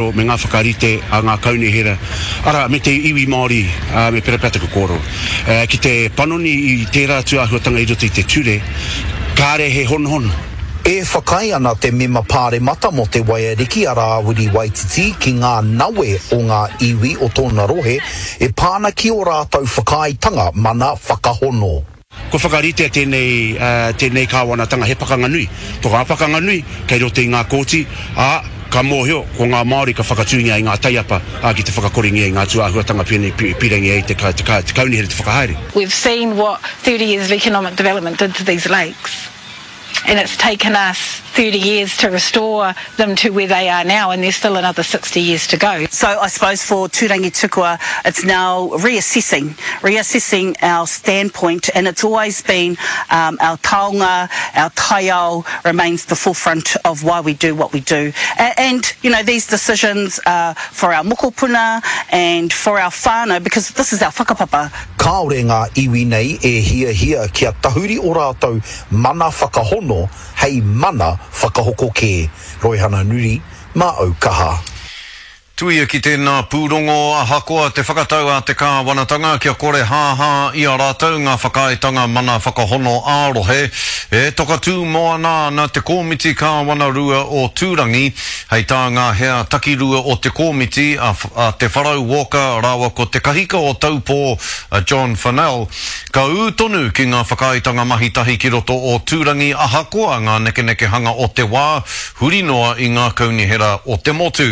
Me ngā whakarite a ngā kaunihera, arā, me te iwi Māori, ā, me pera pea taku kōrero. Ki te panoni i tērā tūāhuatanga i roto i te ture, kāre he honohono. E whakaae ana te mema pāremata mō Te Waiariki a Rāwiri Waititi ki ngā nawe o ngā iwi o tōna rohe e pā ana ki ō rātou whakaaetanga mana whakahono. Kua whakaritea tēnei, tēnei kāwanatanga he pakanga nui. Ko ngā pakanga nui kei roto i ngā kōti, ā, ka mōhio ko ngā Māori ka whakatūngia i ngā taiapa, ā, ki te whakakorengia i ngā tūāhuatanga pēnei pīrangi ai te, te, te kaunihera te whakahaere. We've seen what 30 years of economic development did to these lakes. And it's taken us 30 years to restore them to where they are now and there's still another 60 years to go. So I suppose for Tūrangitukua it's now reassessing, reassessing our standpoint and it's always been um, our taonga, our taiao remains the forefront of why we do what we do. And, and you know, these decisions are for our mokopuna and for our whānau because this is our whakapapa. Kāore ngā iwi nei e hiahia kia tahuri o rātou mana whakahono hei mana whakahoko kē. Roihana Nuri, mā au kaha. Tuia ki tēnā pūrongo, ahakoa te whakatau a te kāwanatanga kia kore hāhā i a rātou ngā whakaaetanga mana whakahono ā-rohe, e toka tū moana ana te Kōmiti Kāwana-rua o Tūrangi, hei tā ngā hea takirua o te kōmiti, a a Te Wharau Walker rāua ko Te Kahika o Taupō, a John Fennell, Ka ū tonu ki ngā whakaaetanga mahi tahi ki roto o Tūrangi ahakoa ngā nekenekehanga o te wā, huri noa i ngā kaunihera o te motu.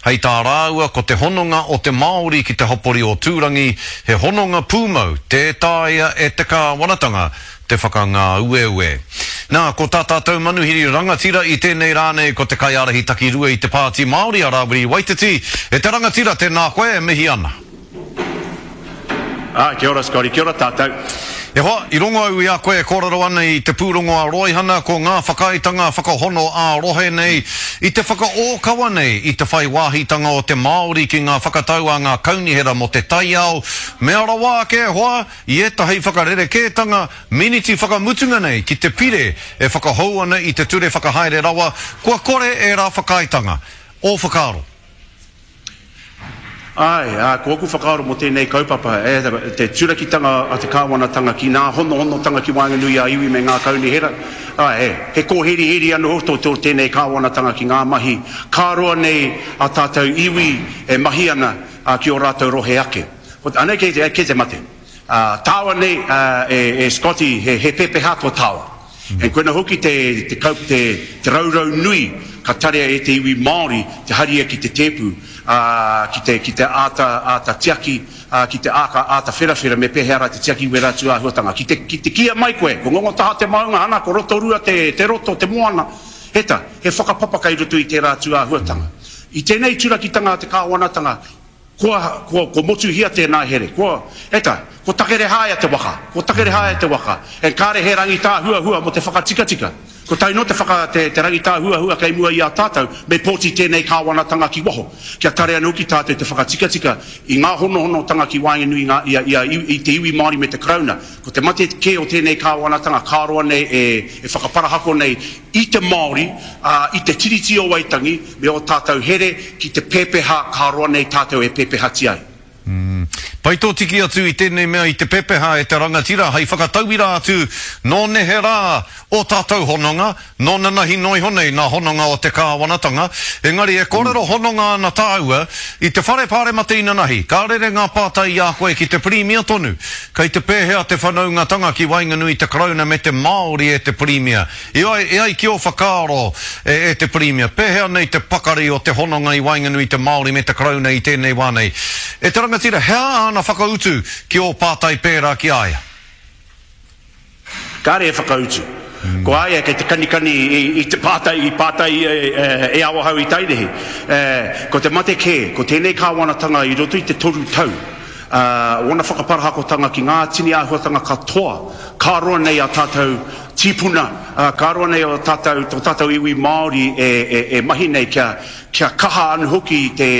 Hei tā rāua ko te hononga o te Māori ki te hapori o Tūrangi he hononga pūmau tē taea e te kāwanatanga te whakangāueue. Nā, ko tā tātou manuhiri rangatira i tēnei rā nei ko te kaiārahi takirua i te Pāti Māori a Rāwiri Waititi. E te rangatira, tēnā koe e mihi ana. Āe, kia ora Scotty, kia ora tātou. E hoa, i rongo au i a koe e kōrero ana i te pūrongo a Roihana, ko ngā whakaaetanga whakahono ā-rohe nei, i te whakaōkawa nei i te whai wāhitanga o te Māori ki ngā whakatau a ngā kaunihera mō te taiao, mea rawa ake e hoa, i ētahi whakarerekētanga miniti whakamutunga nei ki te pire e whakahou ana i te ture whakahaere rawa, kua kore ērā whakaaetanga. Ō whakaaro? Āe, ā, ko ōku whakaaro mō tēnei kaupapa, e, te turakitanga a te kāwanatanga ki nā honohonotanga ki waenganui i a iwi me ngā kaunihera, āe, e, he kōheriheri anō tō, tō tēnei kāwanatanga ki ngā mahi ka roa nei a tātou iwi e mahi ana, ā, ki ō rātou rohe ake. Ko, anei kei te, kei te mate. Ā, tāua nei, ā, e, e Scotty, he, he pepeha tō tāua. And koina hoki te, te kaup, te, te raurau nui ka tarea e te iwi Māori te haria ki te tēpu, ā, ki te, ki te āta, āta tiaki, ā, ki te āka, āta wherawhera me pēhea rā te tiaki wērā tūāhuatanga. Ki te, ki te kīia mai koe, ko Ngongotaha te maunga, ana, ko Rotorua te, te roto, te moana, he ta, he whakapapa kei roto i tērā tūāhuatanga. I tēnei turakitanga a te kāwanatanga, Kua, kua, kua motuhia tēnā here. Kua, e ta, ko Takerehāia te waka. Ko Takerehāia te waka. And kāre he rangitāhuahua mō te whakatikatika. Ko tae noa te whaka, te, te rangitāhuahua kei mua i a tātou, me pōti tēnei kāwanatanga ki waho. Kia tare anō ki tātou te whakatikatika i ngā honohonotanga ki waenganui i ngā, i a, i a, i te iwi Māori me te Karauna. Ko te mate kē o tēnei kāwanatanga ka roa nei e, e whakaparahako nei i te Māori, ā, i te Tiriti o Waitangi, me ō tātou here ki te pepeha ka roa nei tātou e pepehatia ai. Pai tō tiki atu i tēnei mea i te pepeha e te rangatira hei whakatauira atu nō nehe rā ō tātou hononga, nō nanahi noa iho nei nā hononga o te kāwanatanga. Engari e kōrero hononga ana tāua i te whare pāremata inanahi, ka rere ngā pātai i a koe ki te Pirimia tonu. Kei te pēhea te whanaungatanga ki waenganui i te Karauna me te Māori e te Pirimia? E ai, e ai ki ō whakaaro, e, e te Pirimia, pēhea nei te pakari o te hononga i waenganui i te Māori me te Karauna i tēnei wā nei? E te rangatira, he aha āna whakautu ki ō pātai pērā ki a ia? Kāre e whakautu. Ko a ia kei te kanikani i, i te pātai i pātai e, e, e Awahau i Tairihi. E, ko te mate kē, ko tēnei kāwanatanga i roto i te toru tau, ā, ōna whakaparahakotanga ki ngā tini āhuatanga katoa, ka roa nei a tātou tīpuna, ā, ka roa nei o tātou, tō tātou iwi Māori e, e, e mahi nei kia, kia kaha anō hoki te,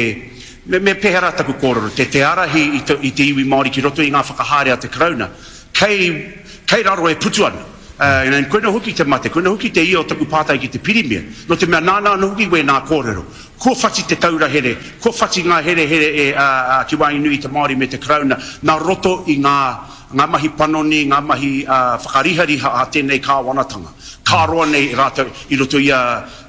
me, me pēhea rā taku kōrero, te, te ārahi i te, i te iwi Māori ki roto i ngā whakahaere a te Karauna, kei, kei raro e putu ana. Ā, koina hoki te mate, koina hoki te ia o taku pātai ki te Pirimia, nō te mea nāna anō hoki wēnā kōrero. Kua whati te taura here, kua whati ngā herehere e, ā, ā, ki waenganui i te Māori me te Karauna, nā roto i ngā, ngā mahi panoni, ngā mahi, ā, whakarihariha a tēnei kāwanatanga. Ka roa nei rātou i roto i a,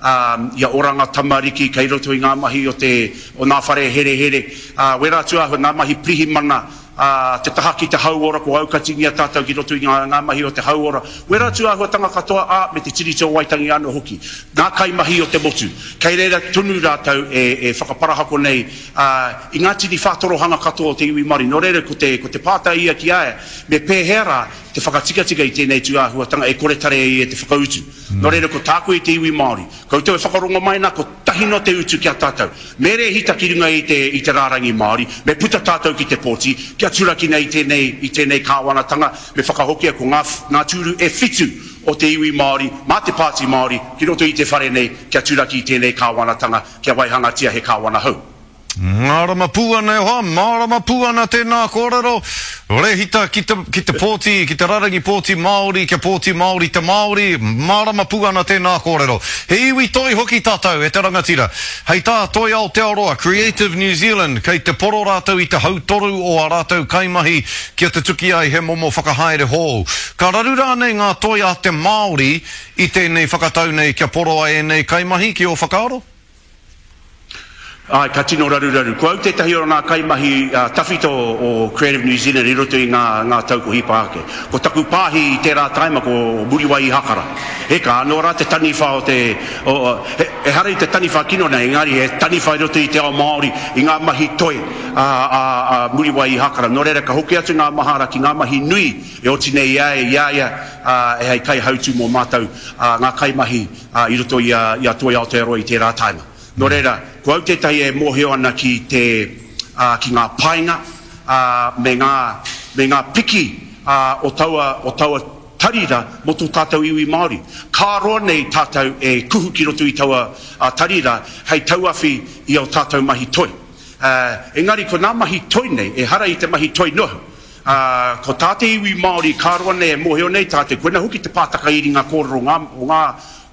ā, i a Oranga Tamariki, kei roto i ngā mahi o te, o ngā whare herehere, ā, wērā atu āhua, ngā mahi pirihimana, ā, te taha ki te hauora, kua aukatingia tātou ki roto i ngā, ngā mahi o te hauora, wērā atu āhuatanga katoa, ā, me te Tiriti o Waitangi anō hoki. Ngā kaimahi o te motu, kei reira tonu rātou e, e whakaparahako nei, ā, i ngā tini whātorohanga katoa o te iwi Māori. Nō reira, ko te, ko te pātai ia ki a ia, me pēhea rā te whakatikatika i tēnei tū āhuatanga e kore tare ai e te whakautu? Nō reira, ko tāku i te iwi Māori, koutou e whakarongo mai nā, kotahi noa te utu ki a tātou. Me rēhita ki runga i te, i te rārangi Māori, me puta tātou ki te pōti, kia turakina i tēnei, i tēnei kāwanatanga, me whakahokia ko ngā, ngā tūru e whitu o te iwi Māori, mā te Pāti Māori, ki roto i te whare nei, kia turaki i tēnei kāwanatanga, kia waihangatia he kāwana hou. Mārama pū ana e hoa, mārama pū ana tēnā kōrero. Rehita ki te, ki te pōti, ki te rarangi pōti Māori, kia pōti Māori te Māori, mārama pū ana tēnā kōrero. He iwi toi hoki tātou e te rangatira. Hei tā Toi Aotearoa, Creative New Zealand, kei te poro rātou i te hautoru o ā rātou kaimahi kia tutuki ai he momo whakahaere hou. Ka raru rānei ngā toi a te Māori i tēnei whakatau nei kia poroa ēnei kaimahi, ki ō whakaaro? Āe, ka tino raruraru. Ko au tētahi o ngā kaimahi tawhito o Creative New Zealand i roto i ngā, ngā tau ko hipa ake. Ko taku pāhi i tērā taima ko Muriwai Ihakara. Heka, anō rā te taniwha o te, o, he, ehara i te taniwha kino nei, engari he taniwha i roto i te ao Māori, i ngā mahi toi a, a, a Muriwai Ihakara. Nō reira, ka hoki atu ngā mahara ki ngā mahi nui e oti nei i a ia, i a ia, ā, e hei kaihautū mō mātou, ā, ngā kaimahi, ā, i roto i a, i a Toi Aotearoa i tērā taima. Nō reira, ko au tētahi e mōhio ana ki te, ā, ki ngā painga, ā, me ngā, me ngā piki, ā, o taua, o taua tari rā mō tō tātou iwi Māori. Ka roa nei tātou e kuhu ki roto i taua, ā, tari rā hei tauawhi i ō tātou mahi toi. Ā, engari ko ngā mahi toi nei, ehara i te mahi toi noa. Ā, ko tā te iwi Māori ka roa nei e mōhio nei tātou, koina hoki te pātaka iringa kōrero ngā, o ngā,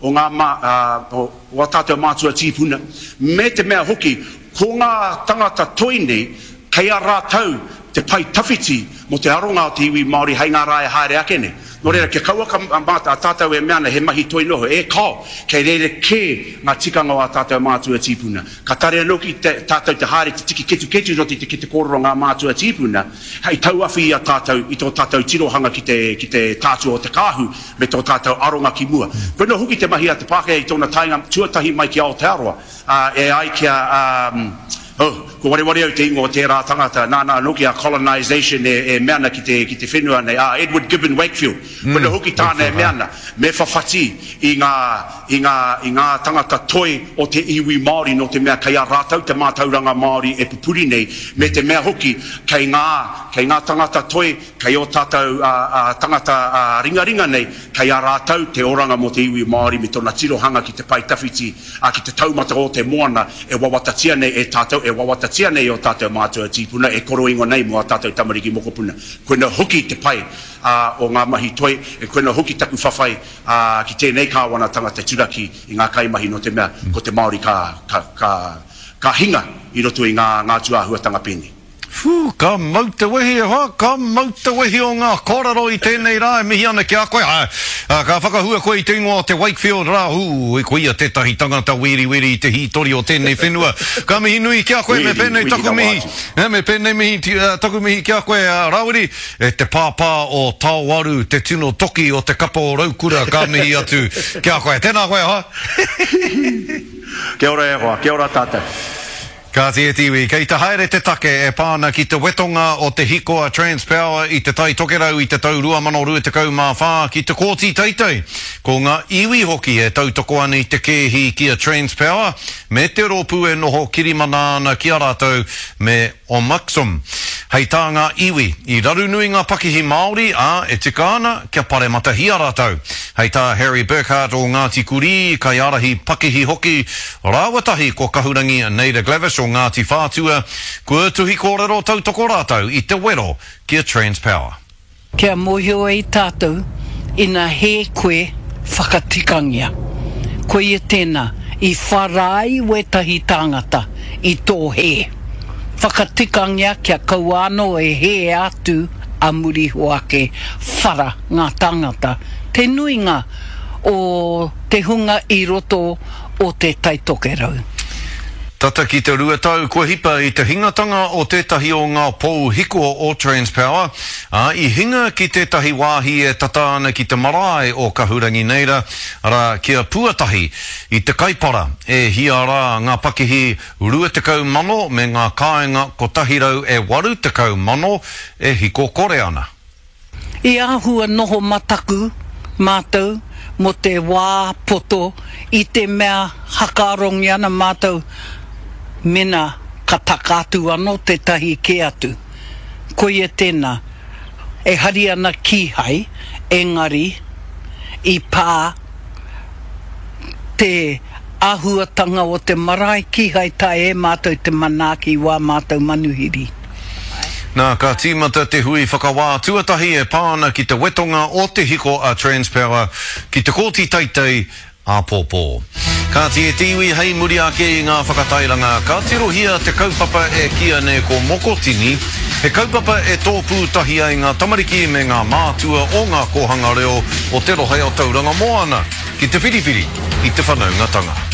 o ngā mā, ā, o, o ā tātou mātua tīpuna, me te mea hoki, ko ngā tangata toi nei, kei a rātou te pae tawhiti mō te aronga o te iwi Māori hei ngā rā e haere ake nei. Nō reira, kia kauaka mā a tātou e mea ana he mahi toi noho, e kāo, kei reira kē ngā tikanga o ā tātou mātua tīpuna. Ka tare anō ki te, tātou te haere te tiki ketuketu i roto i te kete kōrero ngā mātua tīpuna, hei tauawhi i a tātou i tō tātou tirohanga ki te, ki te tātua o te kāhu me tō tātou aronga ki mua. Koinā hoki te mahi a te Pākehā i tōna taenga tuatahi mai ki Aotearoa, ā, e ai ki a, ā, oh, kua wareware au te ingoa o tērā tangata, nāna anō ki a colonisation e, e mea ana ki te, ki te whenua nei, ā, Edward Gibbon Wakefield. Koinā hoki tāna e mea ana, me whawhati i ngā, i ngā, i ngā tangata toi o te iwi Māori nō te mea kei a rātou te mātauranga Māori e pupuri nei, me te mea hoki kei ngā, kei ngā tangata toi, kei ō tātou tangata ringaringa nei, kei a rātou te oranga mō te iwi Māori me tōna tirohanga ki te pae tawhiti, ā, ki te taumata o te moana e wawatatia nei e tātou, e wawatatia nei e ō tātou mātua tīpuna, e koroingo nei mō ā tātou tamariki mokopuna. Koina hoki te pai o ngā mahi toi, e koina hoki taku whawhai ā, ki tēnei kāwanatanga te turaki i ngā kaimahi nō te mea ko te Māori ka, ka, ka, ka hinga i roto i ngā, ngā tūāhuatanga pēnei. Whū, ka mau te wehi e hoa, ka mau te wehi o ngā kōrero i tēnei rā e mihi ana ki a koe. Āe, ka whakahua koe i te ingoa o te Wakefield rā, ū, koia tētahi tangata weriweri i te hītori o tēnei whenua. Ka mihi nui ki a koe, me pēnei taku mihi, me pēnei mihi, taku mihi ki a koe, Rāwiri. E te pāpā o Taoaru, te tino toki o te kapa o Raukura, ka mihi atu ki a koe. Tēnā koe, hoa. Kia ora e hoa, kia ora tātou. Kāti e te iwi, kei te haere te take e pā ana ki te wetonga o te hiko a Transpower i Te Tai Tokerau i te tau 2024 ki te Kōti Teitei. Ko ngā iwi hoki e tautoko ana i te kēhi ki a Transpower me te rōpū e noho kirimana ana ki a rātou me Omuxum. Hei tā ngā iwi, i raru nui ngā pakihi Māori, ā, e tika ana kia parematahia rātou. Hei tā Harry Burkhart o Ngāti Kurī, kaiārahi pakihi hoki, rāua tahi ko Kahurangi Naida Glavish o Ngāti Whātua, kua tuhi kōrero tautoko rātou i te wero ki a Transpower. Kia mōhio ai tātou. Ina hē koe, whakatikangia. Koia tēnā, i whara ai wētahi tāngata i tō hē. Whakatikangia kia kaua anō e hē atu a muri iho ake, whara ngā tāngata, te nuinga o te hunga i roto o Te Taitokerau. Tata ki te 2 tau kua hipa i te hingatanga o tētahi o ngā pou hiko o Transpower, ā, i hinga ki tētahi wāhi e tata ana ki te marae o Kahurangi Neira, arā, ki a Puatahi, i te Kaipara, e hia rā ngā pakihi 20,000 me ngā kāinga 180,000 e hiko kore ana. I āhua noho mataku mātou mō te wā poto i te mea hakaarongi ana mātou mena ka taka atu anō tētahi kē atu. Koia tēnā, e hari ana kīhai, engari i pā te āhuatanga o te marae kīhai taea e mātou te manaaki i wā mātou manuhiri. Nā, ka tīmata te hui whakawā tuatahi e pā ana ki te wetonga o te hiko a Transpower ki te Kōti Teitei āpōpō. Kāti e te iwi hei muri ake i ngā whakatairanga ka tirohia te kaupapa e kīia nei ko Mokotini, he kaupapa e tōpū tahi ai ngā tamariki me ngā mātua o ngā kōhanga reo o te rohe o Tauranga Moana ki te whiriwhiri i te whanaungatanga.